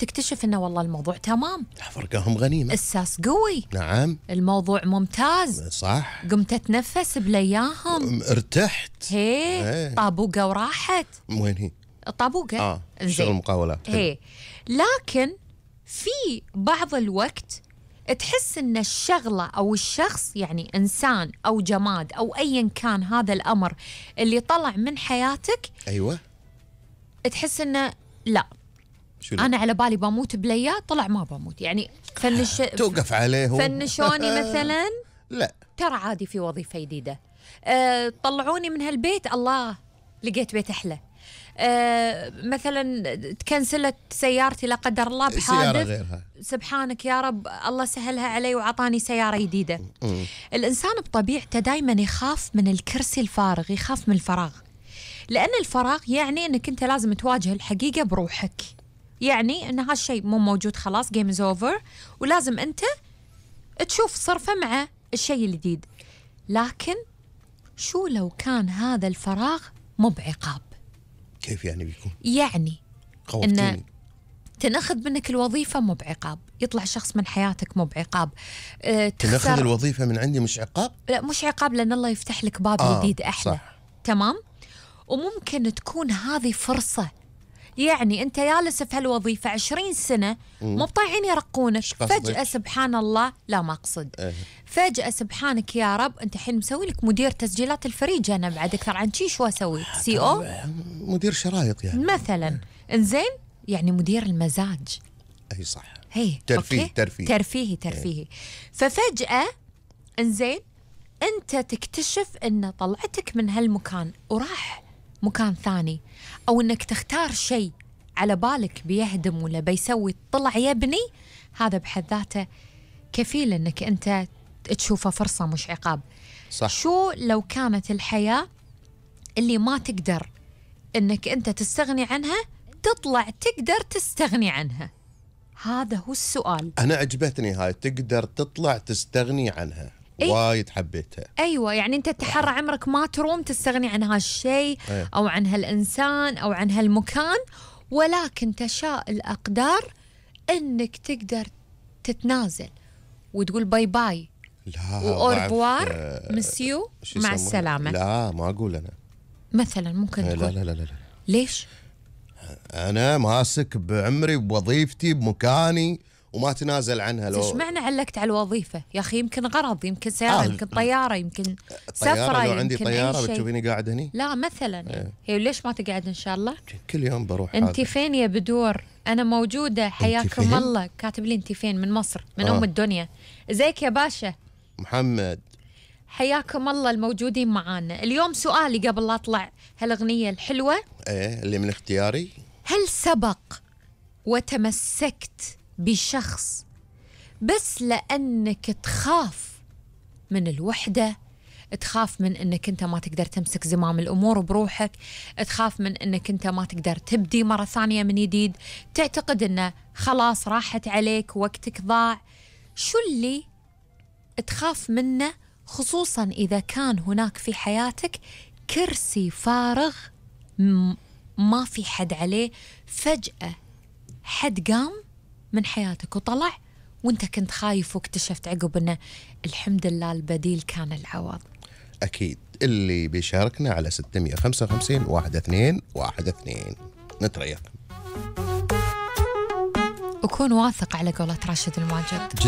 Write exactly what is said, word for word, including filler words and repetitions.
تكتشف انه والله الموضوع تمام، فرقهم غنيمة، الساس قوي، نعم الموضوع ممتاز، صح، قمت اتنفس بلاياهم، ارتحت، هي هي. طابوقة وراحت. وين هي؟ الطابوقة اه شغل مقاولات، هي. لكن في بعض الوقت تحس ان الشغلة او الشخص، يعني انسان او جماد او ايا كان هذا الامر اللي طلع من حياتك، ايوه تحس انه لا شو لا؟ انا على بالي بموت بليا، طلع ما بموت. يعني فنش توقف عليه فنشوني مثلا لا ترى عادي في وظيفة جديدة، أه طلعوني من هالبيت، الله لقيت بيت أحلى. أه مثلا تكنسلت سيارتي لا قدر الله بحادث، سيارة غيرها، سبحانك يا رب الله سهلها علي وعطاني سيارة جديدة. م. الإنسان بطبيعته دايما يخاف من الكرسي الفارغ، يخاف من الفراغ، لأن الفراغ يعني أنك أنت لازم تواجه الحقيقة بروحك، يعني أن هالشيء مو موجود خلاص جيم از اوفر، ولازم أنت تشوف صرفة مع الشيء الجديد. لكن شو لو كان هذا الفراغ مو بعقاب؟ كيف يعني بيكون؟ يعني خوفتيني. إن تنأخذ منك الوظيفة مو بعقاب، يطلع شخص من حياتك مو بعقاب، أه تنأخذ الوظيفة من عندي مش عقاب؟ لا مش عقاب، لأن الله يفتح لك باب آه جديد أحلى، صح. تمام. وممكن تكون هذه فرصة، يعني أنت جالس في هالوظيفة عشرين سنة مو طايعين يرقونك، فجأة سبحان الله، لا ما أقصد اه. فجأة سبحانك يا رب أنت حين مسوي لك مدير تسجيلات الفريج، أنا بعد أكثر عن شي شو أسوي؟ سي أو مدير شرايط يعني مثلا، إنزين يعني مدير المزاج، أي صح، هي ترفيه ترفيه ترفيهي ترفيهي. ففجأة إنزين أنت تكتشف أن طلعتك من هالمكان وراح مكان ثاني، أو أنك تختار شيء على بالك بيهدم ولا بيسوي طلع يبني، هذا بحد ذاته كفيل أنك أنت تشوفه فرصة مش عقاب. صح. شو لو كانت الحياة اللي ما تقدر أنك أنت تستغني عنها تطلع تقدر تستغني عنها؟ هذا هو السؤال. أنا عجبتني هاي، تقدر تطلع تستغني عنها. إيه؟ وايد حبيتها. أيوة، يعني أنت تحرى عمرك ما تروم تستغني عن هالشيء أيه. أو عن هالإنسان أو عن هالمكان، ولكن تشاء الأقدار أنك تقدر تتنازل وتقول باي باي لا وأوربوار آه مسيو مع السلامة. لا ما أقول أنا مثلا ممكن لا تقول لا لا لا. ليش؟ أنا ماسك بعمري بوظيفتي بمكاني وما تنازل عنها. لو ايش معنى علقت على الوظيفة يا أخي؟ يمكن غرض، يمكن سيارة، آه. يمكن طيارة، يمكن سفرة، لو يمكن عندي طيارة بتشوفيني قاعد هني؟ لا مثلا ايه. هي ليش ما تقعد إن شاء الله؟ كل يوم بروح. انت فين يا بدور؟ أنا موجودة، حياكم الله. كاتب لي انت فين؟ من مصر، من آه. أم الدنيا. ازيك يا باشا محمد؟ حياكم الله الموجودين معانا. اليوم سؤالي قبل لا أطلع هالأغنية الحلوة، ايه اللي من اختياري، هل سبق وتمسكت بشخص بس لأنك تخاف من الوحدة، تخاف من أنك أنت ما تقدر تمسك زمام الأمور بروحك، تخاف من أنك أنت ما تقدر تبدي مرة ثانية من جديد، تعتقد أنه خلاص راحت عليك وقتك ضاع؟ شو اللي تخاف منه، خصوصا إذا كان هناك في حياتك كرسي فارغ ما في حد عليه، فجأة حد قام من حياتك وطلع وانت كنت خايف واكتشفت عقب انه الحمد لله البديل كان العوض؟ اكيد. اللي بيشاركنا على ستمية وخمسة وخمسين واحد اثنين واحد اثنين نتريق. وكون واثق على قولة راشد الماجد.